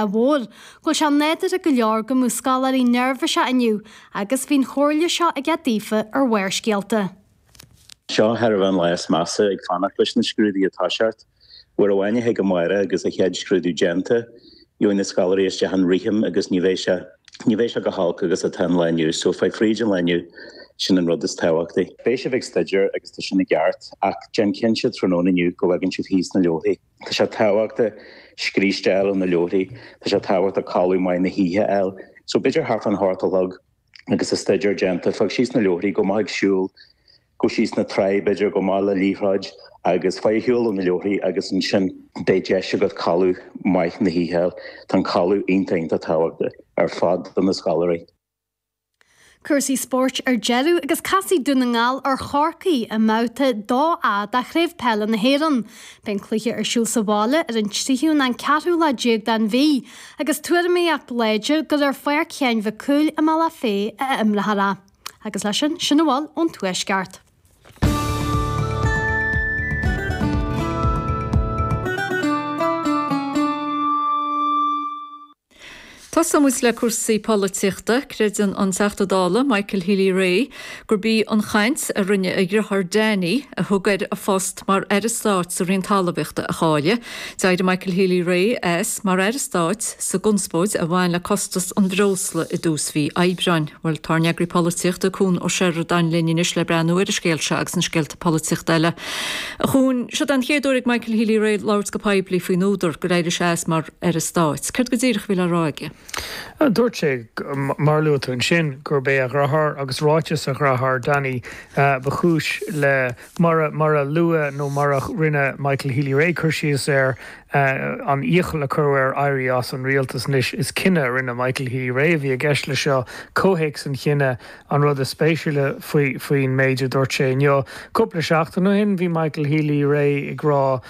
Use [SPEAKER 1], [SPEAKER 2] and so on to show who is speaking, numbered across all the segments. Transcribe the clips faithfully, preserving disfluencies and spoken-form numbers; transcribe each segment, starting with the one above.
[SPEAKER 1] mhór, go bhfuil sé nádúrtha go leor go mbeadh scoláirí neirbhíseach inniu agus bhí an chomhairle seo aige daofa ar Bharrscéalta.
[SPEAKER 2] Seo thar a bheith an lá is measa ag fanacht leis na scrúduithe a thoiseacht. Uair amháin a thig amárach agus an chéad scrúdú déanta, gheobhaidh na scoláirí isteach an rithim agus ní bheidh sé ní bheidh sé chomh holc agus atá an lá inniu, so faigh fríd an lá inniu, sin an rud is tábhachtaí. Beidh sibh ag staidéar agus tá sin i gceart ach déan cinnte tráthnóna inniu go bhfagann sibh thíos na leabharthaí. Tá sé tábhachtach scríste a fháil ó na leabharthaí, tá sé tábhachtach codladh maith na hoíche a fháil. So b'fhéidir thart fán hocht a chlog agus an staidéar déanta, fág síos na leabharthaí, gabh amach ag siúl, gabh síos na trá b'fhéidir, gabh amach le liathróid agus faigh ar shiúl ó na leabharthaí agus ansin beidh deis agat codladh maith na hoíche a fháil. Tá an codladh iontach iontach tábhachtach ar fad do na scoláirí.
[SPEAKER 1] Cúrsaí spóirt ar deireadh agus casfaidh Dún na nGall ar Chorcaigh i mbabhta dó A de Chraobh Peile na hÉireann. Beidh an cluiche ar siúl sa bhaile ar an tríú nó an ceathrú lá déag den mhí agus tuairimíocht láidir gur ar Pháirc Sheáin Mhic Cumhaill i mBealach Féich a imreofar é. Agus leis sin, sin a bhfuil ón Tuaisceart.
[SPEAKER 3] Tosóidh muid le cúrsaí polaitíochta. Creideann an Teachta Dála Michael Healy-Rae gurb í an chaint a rinne a dheartháir Danny a thug air a phost mar Aire Stáit sa Roinn Talmhaíochta a chailleadh. D'éirigh Michael Healy-Rae as mar Aire Stáit sa gconspóid a bhain le costas an bhreosla i dtús mhí Aibreáin. Bhuel, tá ár n-eagraí polaitíochta, Cuan Ó Seireadáin linn anois le breathnú ar an scéal seo agus na scéalta polaitíochta eile. A Chuain, seo den chéad uair ag Michael Healy-Rae labhairt go poiblí faoin údar gur éirigh sé as mar Aire Stáit. Céard go díreach a bhí le rá aige?
[SPEAKER 4] Dúirt sé, mar a luaigh tú ansin, gurb é a dheartháir agus ráiteas a dhearthár Danny ba chúis le, mar mar a luadh nó mar a rinne Michael Healy-Rae cur síos air, an iachall a cuireadh air éirí as an rialtas. Anois, is cinneadh a rinne Michael Healy-Rae a bhí i gceist leis seo, comhthéacs an chinnidh an rud is spéisiúla faoi faoin méid a dúirt sé inniu. Cúpla seachtain ó shin, bhí Michael Healy-Rae ag rá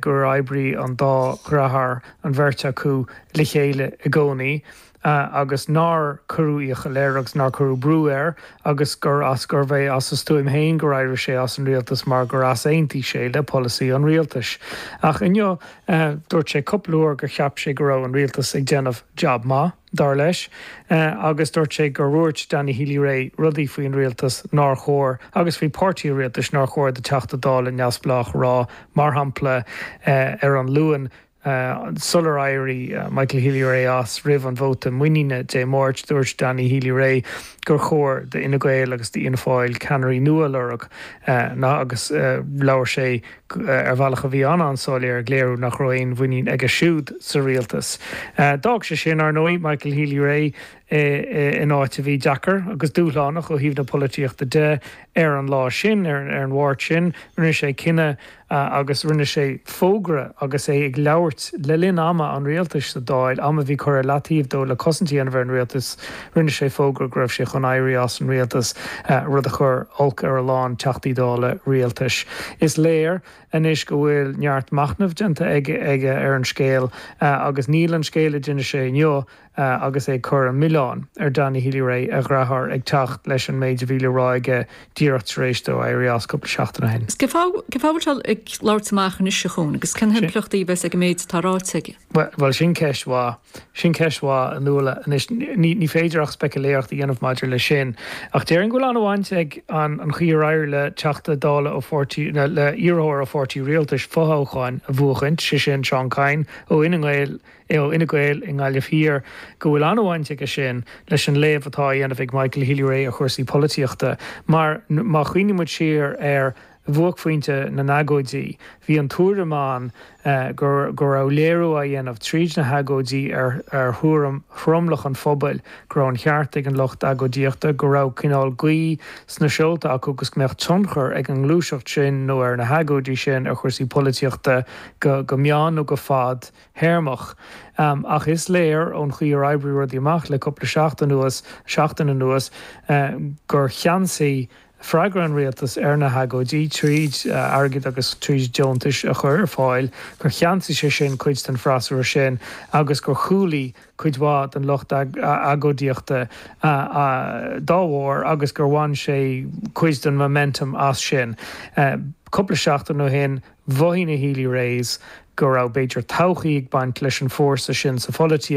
[SPEAKER 4] gur oibrigh an dá dheartháir, an bheirt acu, le chéile i gcónaí agus nár cuireadh iachall air agus nár cuireadh brú air agus gur as gurbh é as a stuaim féin gur éirigh sé as an rialtas mar gur easaontaigh sé le polasaí an rialtais. Ach inniu dúirt sé cúpla uair gur cheap sé go raibh an rialtas ag déanamh jab maith, dar leis, agus dúirt sé gur dhúirt Danny Healy-Rae rudaí faoin rialtas nár chóir agus faoi pháirtí an rialtais nár chóir do Teachta Dála neamhspleách a rá, mar shampla ar an Luan sular éirigh Michael Healy-Rae as roimh an vóta muiníne Dé Máirt, dúirt Danny Healy-Rae gur chóir d'Fhine Gael agus d'Fhianna Fáil ceannairí nua a lorg agus labhair sé ar bhealach a bhí an-an-soiléir ag léiriú nach raibh aon mhuinín aige siúd sa rialtas. D'fhág sé sin, ar ndóigh, Michael Healy-Rae in áit a bhí deacair agus dúshlánach ó thaobh na polaitíochta de ar an lá sin, ar an Mháirt sin. Rinne sé cinneadh agus rinne sé fógra agus é ag labhairt le linn ama an rialtais sa Dáil, am a bhí curtha ar leataobh dó le cosaint a dhéanamh ar an rialtas, rinne sé fógra go raibh sé chun éirí as an rialtas, rud a chuir olc ar a lán Teachtaí Dála rialtais. Is léir anois go bhfuil neart machnaimh déanta aige ar an scéal agus níl an scéal a d'inis sé inniu agus é ag cur an milleán ar Danny Healy-Rae, a dheartháir, ag teacht leis an méid a bhí le rá aige díreach tar éis dó éirí as cúpla seachtain ó shin.
[SPEAKER 3] Cén fáth a bhfuil sé ag labhairt amach anois, a Chuain, agus cén himpleachtaí a bheas ag an méid atá ráite aige?
[SPEAKER 4] Bhuel, sin ceist mhaith. Sin ceist mhaith, a Nuala. Anois, ní ní féidir ach speicealéireacht a dhéanamh maidir leis sin. Ach déarfainn go bhfuil an-bhaint ag an an chaoi ar éirigh le Teachta Dála ó pháirtí, le iarrthóir ó pháirtí rialtais fothoghchán a bhuachaint, sé sin Seán Kyne ó Fhine Gael, ó Fhine Gael i nGaillimh Thiar, go bhfuil an-bhaint aige sin leis an léamh atá á dhéanamh ag Michael Healy-Rae ar chúrsaí polaitíochta. Mar má chuimhníonn muid siar ar bhuaicphointe na n-agóidí, bhí an tuairim ann go go raibh léiriú á dhéanamh tríd na hagóidí ar ar thuairim thromlach an phobail, go raibh an cheart ag an lucht agóidíochta, go raibh cineál gaoth sna seolta acu agus go mbeadh tionchar ag an ngluaiseacht sin nó ar na hagóidí sin ar chúrsaí polaitíochta go go meán nó go fad théarmach. Ach is léir ón chaoi ar oibrigh rudaí amach le cúpla seachtain anuas, seachtain anuas gur cheansaigh freagra an rialtais ar na hagóidí tríd airgead agus tríd deontais a chur ar fáil, gur cheansaigh sé sin cuid den freasúra sin agus gur chúlaigh cuid mhaith den lucht agóidíochta dá bharr agus gur bhain sé cuid den momentum as sin. Cúpla seachtain ó shin mhothaigh na Healy-Raes go raibh b'fhéidir todhchaí ag baint leis an fórsa sin sa pholaitíocht.